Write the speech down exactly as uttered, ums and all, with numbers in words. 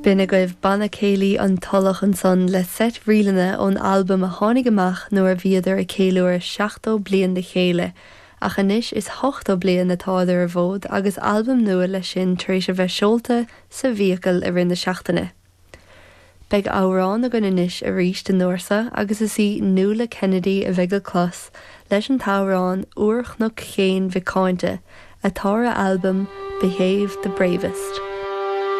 B'in agaibh Banna Céilí an Tulach ansan le seit ríleanna ón albam a tháinig amach nuair a bhíodar ag ceiliúradh seachtó bliain le chéile, ach anois is ochtó bliain atá ar an bhfód agus albam nua leis sin tar éis a bheith seolta sa bhfiacail i rith na seachtaine. Beidh amhrán againn anois arís den uair agus is í Nuala Kennedy a bheidh le clos leis an t-amhrán Úr Chnoc Chéin Mhic Cáinte atá ar albam Behave the Bravest.